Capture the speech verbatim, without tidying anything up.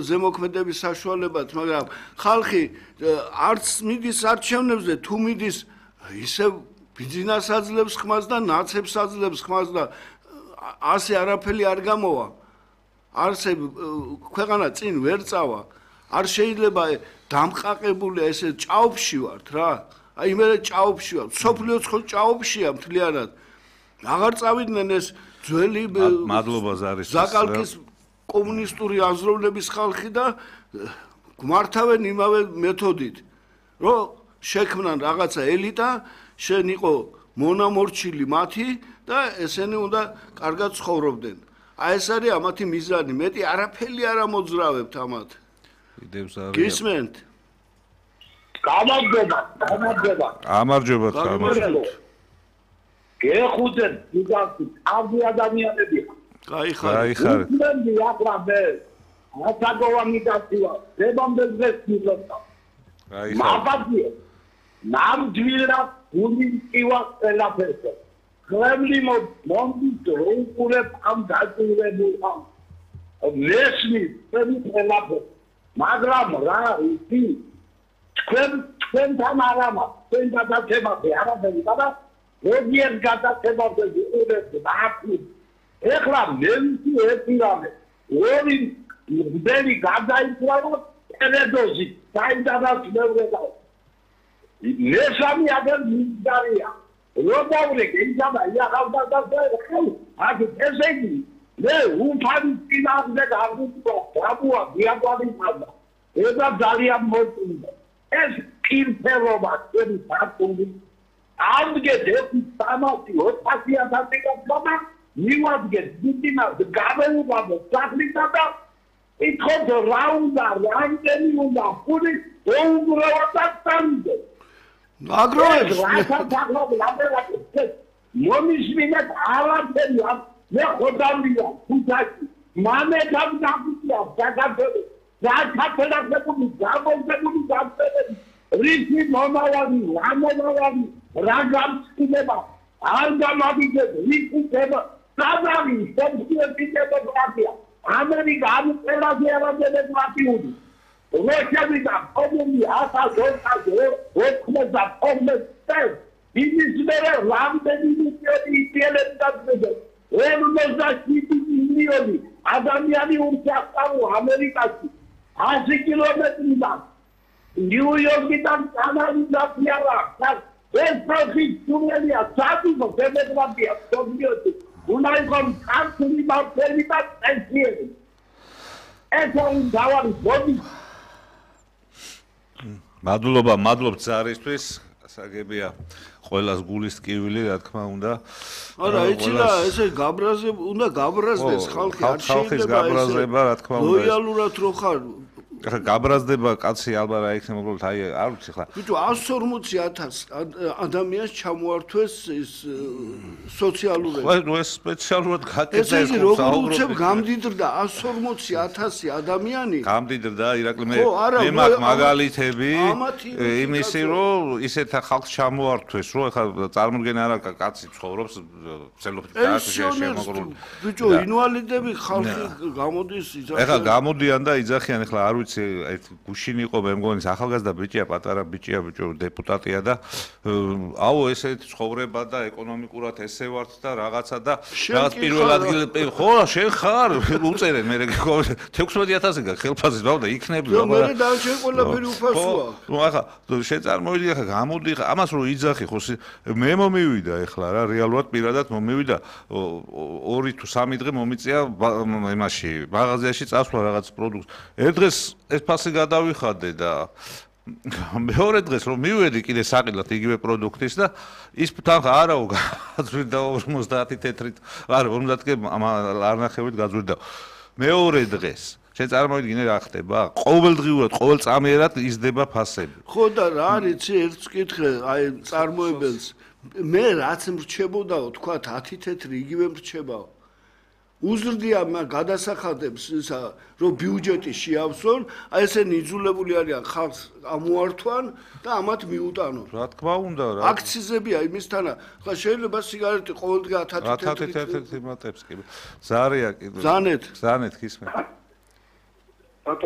ზემოქმედების საშუალებად, მაგრამ ხალხი არც მიდის არჩევნებზე, თუ მიდის ისევ ბიზნეს აძლევს ხმას და ნაცებს აძლევს ხმას და ასე არაფერი არ გამოვა. არცე ქვეყანა წინ ვერ წავა. არ შეიძლება დამყაყებული ესე ჭაობში ვართ რა. აი მე ჭაობში ვარ. სოფლიოც ხო ჭაობშია მთლიანად. აღარ წავიდნენ ეს ძველი მადლობა ზარის ზაკალკის კომუნისტური აზროვნების ხალხი და გვმართავენ იმავე მეთოდით, რომ შექმნან რაღაცა ელიტა, შენ იყო მონამორჩილი მათი და ესენი უნდა კარგად ცხოვრობდნენ. აი ეს არის ამათი მიზანი, მეტი არაფერი არ ამოძრავებთ ამათ. გისმენთ? გამარჯობა, გამარჯობა. გამარჯობა, გამარჯობა. გეხუძენ, იგავთ, ავი ადამიანები. გაიხარ. მე ახლა მე ასაგოვანი დაცვა, დებამდე დღეს მივხვდა. მაბადია. ნამდვილად გულიმკივა ყველაფერს. ხლემლი მომდის როუკურებ ამ დაჭირებულ ამ. მესმის ყველაფერს. მაგრამ რა ისი თქვენ თქვენთან არამა, თქვენ გადაცემაზე არაფერი და როგორ გადაცემაზე ვიყურებთ აფი. ეხლა მე ვიცი ერთი რამე, ორი მდელი გადაიწყო ტელედოზი, საიდანაც მევრედა. მესამე ადერ მიგდარია. როდავრე გეიძაბა იახავდა და ხელ, აქ ესე იგი მე უფალი წინააღმდეგ არ ვიყო, აბუა დიაგვარი მადა. ება ძალიან მოწინდა. ეს კირფერობა ჩვენი ფაქტური ამდგეთ ერთი სამასი ოთხასი ათასი გასვლა მივადგეთ დიდინას გამეუბანო სახლისა და ითხოვთ რა უნდა რამდენი უნდა ფული უბრალოდ წამიდე აგროვებს მომისმინეთ არაფერი მე ხოდამია თუთაში მამე გამგაბია საქართველოს საქართველოს გამოგებული გამწერები რითი მომავალი რა მომავალი რა გამწკინება არ გამაგიძებ რითი ხება სადავი სოციალისტები პრატია ამერიკა ამ ყველაზე არადებს მათიუდი როჩები და კომუნი ასა ზონა ოთხმოცდა ოთხმოცდა იმის მერე რამდენი მილიონი იტიელებს დაძებდა ორმოცდაშვიდი მილიონი ადამიანი ურჩახავ ამერიკაში ასი კილომეტრიდან ნიუ-იორკიდან კანადიდან ეს პროფიტ თუნელია სადუღო დემოკრატია სოციალისტი უნდა იყოს კანცლერი მართლები და პენსიები ეს არის დავარი ბოდი მადლობა მადლობთ ზარისთვის საგებია ყველას გულის ტკივილი რა თქმა უნდა არა იცი რა ესე გაბრაზე უნდა გაბრაზდეს ხალხი არ ხალხის გაბრაზება რა თქმა უნდა ლოიალურად რო ხარ ხა გაბრაზდება კაცი ალბათ რა იქნება უბრალოდ აი არ ვიცი ხა ბიჭო εκατს ორმოცი ათასი ადამიანს ჩამოართვეს ის სოციალური ხო ნუ ეს სპეციალურად გაკეთდა ეს როგორ უცებ გამდიდრდა εκατს ორმოცი ათასი ადამიანი გამდიდრდა ირაკლი მე მე მაგ მაგალითები იმისი რომ ისეთ ხალხს ჩამოართვეს რომ ხა წარმოდგენა არა კაცი ცხოვრობს ცელოფით გააკეთე შემოგრული ბიჭო ინვალიდები ხალხი გამოდის იძახიან ეხლა გამოდიან და იძახიან ეხლა არ ვიცი ერთ გუშინ იყო მე მგონი ახალგაზრდა ბიჭია პატარა ბიჭია ბიჭო დეპუტატია და აუ ესეთ ცხოვრება და ეკონომიკურად ესე ვართ და რაღაცა და რაღაც პირველ ადგილზე ხო შენ ხარ უწერენ მე თექვსმეტი ათასი ხელფასის ბავ და იქნები რა მე დაჩენ ყველაფერი უფასოა ნუ ახლა შენ წარმოვიდი ახლა გამოდი ამას რო იძახი ხო მე მომივიდა ეხლა რა რეალურად პირადად მომივიდა ორი თუ სამი დღე მომიწია იმაში მაღაზიაში წასვლა რაღაც პროდუქტს ერთ დღეს ეს ფასი გადავიხადე და მეორე დღეს რომ მივედი კიდე საყიდლად იგივე პროდუქტის და ის თანხა არაო გაძვირდა ორმოცდაათი თეთრით არა ორმოცდაათი არნახევით გაძვირდა მეორე დღეს შენ წარმოვიდგინე რა ხდება ყოველდღიურად ყოველწამიერად იზრდება ფასები ხო და რა არის ერთს კითხე აი წარმოებელს მე რაც მრჩებოდაო თქვა ათი თეთრი იგივე მრჩებაო უზრდია გადასახადებს ისა რომ ბიუჯეტი შეავსონ აი ესენი იძულებული არიან ხალხს ამოართვან და ამათ მიუტანონ რა თქმა უნდა რა აქციზებია იმისთანა ხა შეიძლება სიგარეტი ყოველდღე ათი თეთრი მატებს კი ზარია კი ზანეთ ზანეთ ხისმე ბატონო